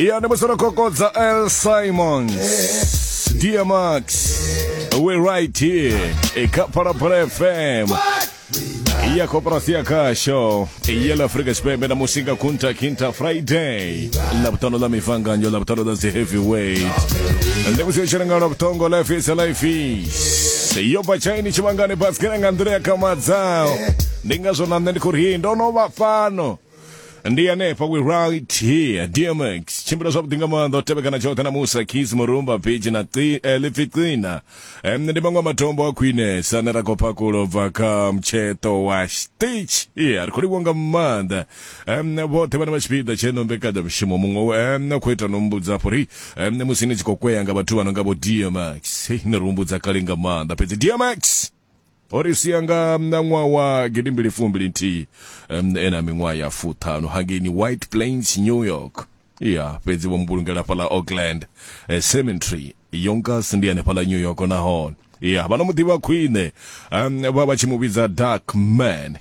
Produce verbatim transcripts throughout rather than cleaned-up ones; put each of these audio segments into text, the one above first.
Ya ndi musi ro kokodza L Simons, Dear Max, we're right here kha Phalaphala F M ya koporasi ya khasho ya la Afrika Tshipembe na musinga Kunta Kinta Friday, ḽavhuṱanu ḽa mivanganyo, ḽavhuṱanu ḽa dzi heavyweight. Ndi musi yo tshila nga lwa life is life is yo bva Chaini tshivhangani basikela nga nḓila ya kamadzao. Ndi ngazwo na nṋe ndi khou ri ndo no vha fhano, ndi hanefha, we right here. D M X tshimbila zwavhuḓi nga maanḓa u tevhekana tshoṱhe na Musa Keys Murumba Beach na eh, Lipfi Qina. um, ndi maṅwe a matombo a khwinesa ane ra khou pakulo bva kha mutsheṱo wa Stitch. Yeah, ri khou livhuwa nga maanḓa um, vhoṱhe vhane vha tshipiḓa tsheno mbekanyamushumo. Muṅwe um, khou ita no mbudza afho ri um, musi ni tshi khou kwea nga vhathu vha no nga vho D M X. Hey, ni ri humbudza kale nga maanḓa, fhedzi D M X o ri sia nga na ṅwaha wa gidimbili fumbili nthihi um, e na miṅwaha ya fuṱhanu hangeini White Plains, New York. Ya fhedzi vho mbulungela fhaḽa Oakland eh, Cemetery, Yonkers, ndi hanefhaḽa New York. Nahone ya vha no mu ḓivha khwine um, vha vha tshi mu vhidza Dark Man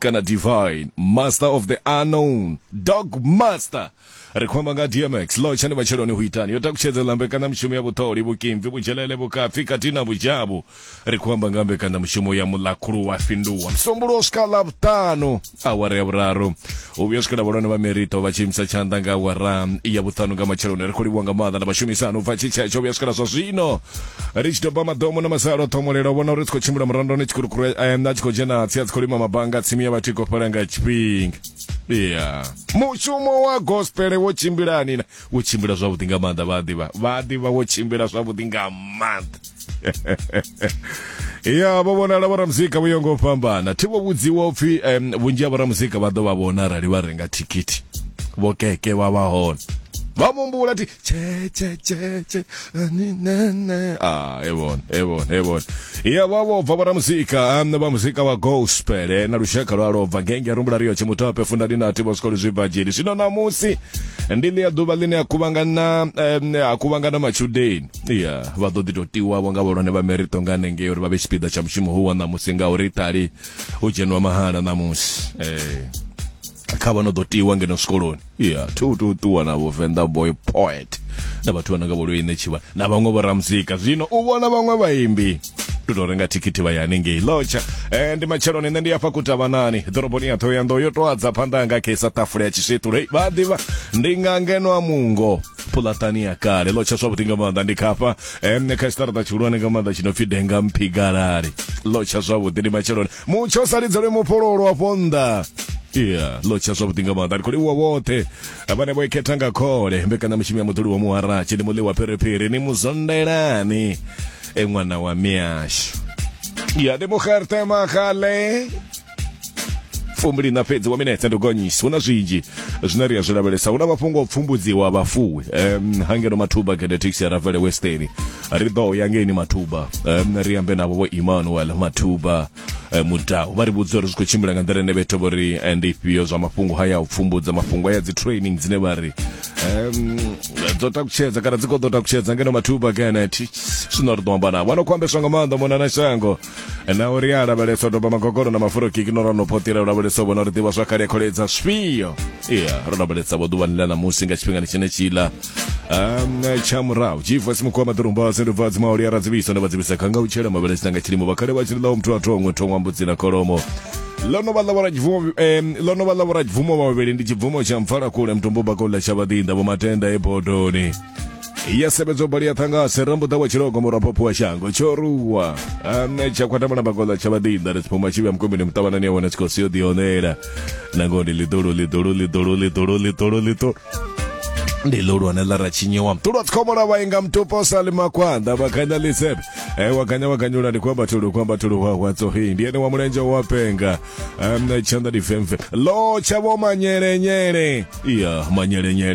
kana Divine Master of the Unknown, Dog Master. Ri khou amba nga D M X. Lotshani vhatsheloni hu itani yo takutshedzela mbekanyamushumo ya vhuṱoli, vhukimvi, vhudzhelele, vhukapfi khathihi na vhudzhavhu. Ri khou amba nga mbekanyamushumo ya Mulakhulu wa Fhinduwa, Musumbulowo swika Ḽavhuṱanu awara ya vhuraru u vhuya swikela vhahulwane vha merito vha tshi imisa tshanḓa nga awara ya vhuṱanu nga matsheloni. Ri khou livhuwa nga maanḓa na vhashumisani u bva tshitshetsho vhuya swikela zwa zwino ri tshi doba maḓomo na masalo ṱhomolela u vhona uri tsi khou tshimbila murandoni tshikurukuru a tshi khou dzhena tsi a tsi khou lima mabanga tsimu ya vhathu i khou fhela nga tshifhinga. Ya mushumo wa gospel wo tshimbilani na wo tshimbila zwavhuḓi nga maanḓa, vha ḓivha vha ḓivha wo tshimbila zwavhuḓi nga maanḓa. Ya vho vhonala vhoramuzika vho yongo fhambana, thi vho vhudziwa upfhi um, vhunzhi ha vhoramuzika vha ḓo vha vhona arali vha renga thikhithi. Vho keke vha vha hone vha mumbula ti che che che che ni ne ne ah e vhone e vhone e vhone. Ya vha vho bva vhoramuzika um, vha muzika wa gospel eh, na lushaka lwa lobva ngenge rumbula rio tshimutape fundani na vho zwikolo zwi bva dzheli. Zwino namusi ndi ḽia ḓuvha ḽine a kuvhangana um, a kuvhangana matshudeni. Ya vha ḓo ḓi tou tiwavho nga vhahulwane vha merito nga hanengei uri vha vhe tshipiḓa tsha mushumo hu wa ṋamusi, ngauri ṱali u dzhenwa mahala ṋamusi eh kha vha no ḓo tiwa ngeno zwikoloni. Ya thi u tou ṱuwa na vho Venḓa Boy Poet na vhathu vha no nga vho Lweine Tshivha na vhaṅwe vho ramuzika. Zwino u vhona vhaṅwe vhaimbi ndi tou renga thikhithi vha ya hanengei. Lotsha eh, ndi matsheloni, nṋe ndi afha kutavhanani ḓoroboni ya Ṱhohoyanḓou yo tou adza phanḓa hanga kheisa ṱafula ya tshiswiṱulo. Vha ḓivha ndi nga ngeno a mungo pulatani ya kale. Lotsha zwavhuḓi nga maanḓa, ndi khafha em kha tshiṱaraṱa tshihulwane nga maanḓa tshi no pfi Denga Mphigalali. Lotsha zwavhuḓi, ndi matsheloni, mutsho sa lidzelwe mufhololo afho nnḓa. Ya lotsha zwavhuḓi nga maanḓa, ndi khou livhuwa vhoṱhe vhane vho ikhetha nga khole mbekanyamushumo ya muḓuli wa muharatshi. Ndi muḽi wa phiriphiri, ni muzondelani e ṅwana wa miashu. Ya ndi muxerte maxale fumbili na fhedzi wa minetse ndi gonyisi. Hu na zwinzhi zwine ri a zwi lavhelesa, hu na mafhungo o pfumbudziwa vhafuwi um, hangeno Mathuba Genetics ya Ravele Western. Ri ḓo ya ngeini Mathuba um, ri ambe navho vho Emmanuel Mathuba um, Mudau, vha ri vhudza uri zwi khou tshimbila nga nḓila ine vhethu vho ri eh, ndi ifhio zwa mafhungo haya u pfumbudza, mafhungo haya dzi training dzine vha ri um, dzo takutshedza kana dzi khou ḓo takutshedza ngeno Mathuba Genetics. Zwino ri ḓo amba navho ano khou ambeswa nga maanḓa mona na shango na uri a lavhelesa u doba magogolo na mafurokiki no rano photela u lavhelesa u vhona uri ḓivha zwa kale ya kholedza zwifhio. Iya ro lavhelesa vho ḓuvhani ḽa ṋamusi nga tshifhingani tshine tshiḽa um, tsha murahu gfs mukhuwa maḓurumba sendubva dzimauli ya radzivhiso ndo vha dzivhisa khanga u tshela mavhele tshina nga tshilimo vhakhale vha tshi ḽaho muthu a thongwe thongwa mbudzi na kholomo. Ḽo no vha ḽa vhoradzibvumo um, ḽo no vha ḽa vhoradzibvumo vhavhili, ndi tshibvumo tsha mpfalakule mutumbu bakola tsha vhaḓinḓa vho matenda e bodoni ya sebedzo bali ya ṱhangase rambuḓa wa tshilogo murapopho wa shango tsho ruwa ane tsha khwatamana bakola tsha vhaḓinḓa ri tshiphuma tshivhuya mukombeni muṱavhanani ya wana tshikosi yo ḓionela nangoho ndi ḽiḓulu ḽiḓulu ḽiḓulu ḽiḓulu ḽiḓulu ḽiḓulu ndi ḽihulwane ḽa ra tshinyiwa mutulu wa tsikhomola vha inga mutupo sa ḽi makhwanḓa vha khanya ḽisebe e wa kanya wa kanyula ndi khou amba thulu khou amba thulu hwahwa tsohi ndi ene wa mulenzhe wa penga um, tshanḓa ndi femfe lo tsha vho manyelenyele iya manyelenyele.